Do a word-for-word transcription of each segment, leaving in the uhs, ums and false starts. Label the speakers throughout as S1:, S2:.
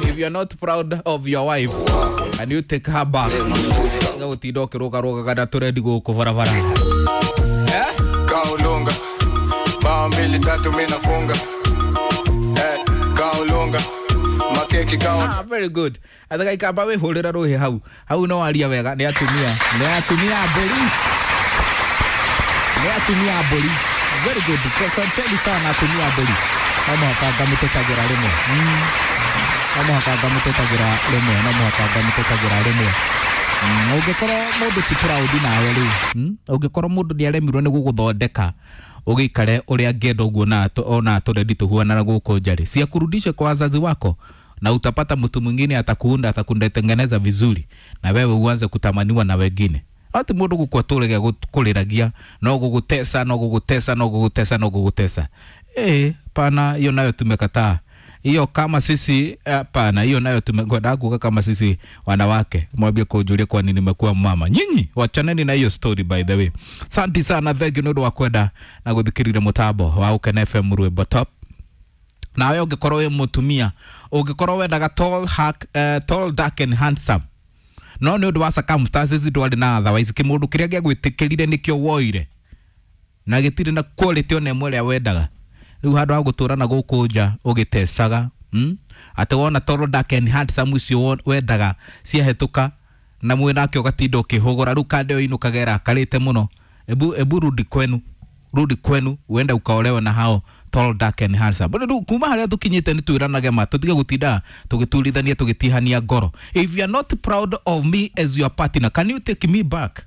S1: If you're not proud of your wife, can you take her back? Gũtinda ũkĩrũgarũgaga na tũrendi gũkũ barabara. Eh?
S2: Kaolonga bao mbili tatu mi nafunga eh, kaolonga makeki kao.
S1: Ah, very good. Athaga ikamba wĩhũrĩra rũhĩ hau. Hau no aria wega nĩ atumia. Nĩ atumia a mbũri. Nĩ atumia a mbũri. Very good. Asanteni sana atumia a mbũri. No mũhaka ngamũtetagĩra rĩmwe. Mm. No mũhaka ngamũtetagĩra rĩmwe. No mũhaka ngamũtetagĩra rĩmwe. Mm, ũngĩkorwo mũndũ ti proud nawe rĩ, mm, ũngĩkorwo mũndũ nĩ aremirwo nĩ gũgũthondeka ũgĩikare ũrĩa angĩenda ũguo na ona tũrendi tũhuanana gũkũ nja rĩ, si akurudishe kwa wazazi wako na utapata mtu mwingine atakuunda, atakundetengeneza vizuri na wewe uanze kutamaniwa na wengine. Ati mũndũ gũkua tũrege kũrĩragia no gũgũtesa, no gũgũtesa, no gũgũtesa, no gũgũtesa. Eh, pana hiyo nayo tumekataa hiyo. Kama sisi, hapana, hiyo nayo tumekwenda kuka. Kama sisi wanawake, mwambie kujulia kwa nini nimekuwa mama. Nyinyi wachaneni na hiyo story. By the way, asante sana, thank you nĩ ũndũ wa kwenda na gũthikĩrĩria mũtambo wa Ukene F M, rwĩmbo top. Nawe ũngĩkorwo wĩ mũtumia, ũngĩkorwo wendaga tall, hack, uh, tall, dark and handsome, no nĩ ũndũ wa circumstances ndwarĩ na otherwise kĩmũndũ kĩrĩa gĩagwĩtĩkĩrire nĩkĩo woire na gĩtirĩ na quality ona ĩmwe ĩrĩa wendaga. Rĩu handũ ha gũtũra na gũkũ nja ũgĩtecaga, mm? Atĩ wona tall, dark and handsome ũcio wendaga ciahĩtũka na mwĩ nake ũgatinda ũkĩhũgũra, rĩu kande ĩyo inũkaga ĩrakarĩte mũno. Ebu ebu rudi kwenu, rudi kwenu, uende ukaolewe na hao tall, dark and handsome. Rĩu kuma harĩa tũkinyĩte nĩ twĩranage ma tũtige gũtinda tũgĩturithania, tũgĩtihania ngoro. If you are not proud of me as your partner, can you take me back?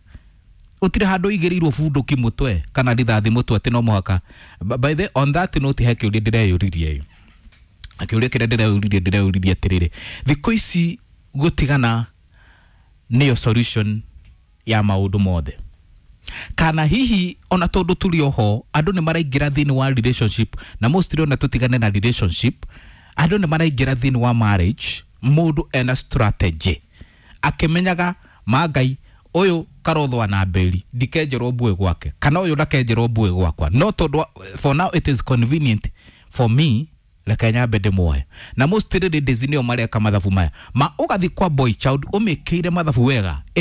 S1: Utire handũ igĩrĩirwo bunduki mũtwe kana rithathi mũtwe atĩ no mũhaka. By the on that note, he kĩũria ndĩreyũririe, kĩũria kĩrĩa ndĩreyũririe ndĩreyũririe atĩrĩrĩ, thikũ ici gũtigana nĩyo solution ya maũndũ mothe, kana hihi ona tondũ tũrĩ oho andũ nĩ maraingĩra thĩinĩ wa relationship na mostly ona tũtigane na relationship, andũ nĩ maraingĩra thĩinĩ wa marriage mũndũ ena strategy akĩmenyaga mangai ũyũ karothwa na mberi ndikenjerwo mbuĩ gwake kana ũyũ ndakenjerwo mbuĩ gwakwa, no tondũ for now it is convenient for me, reke nyambe ndĩmuoe. Na most ladies nĩo mareka mathabu maya ma ũgathi kwa boy child ũmĩkĩire mathabu wega.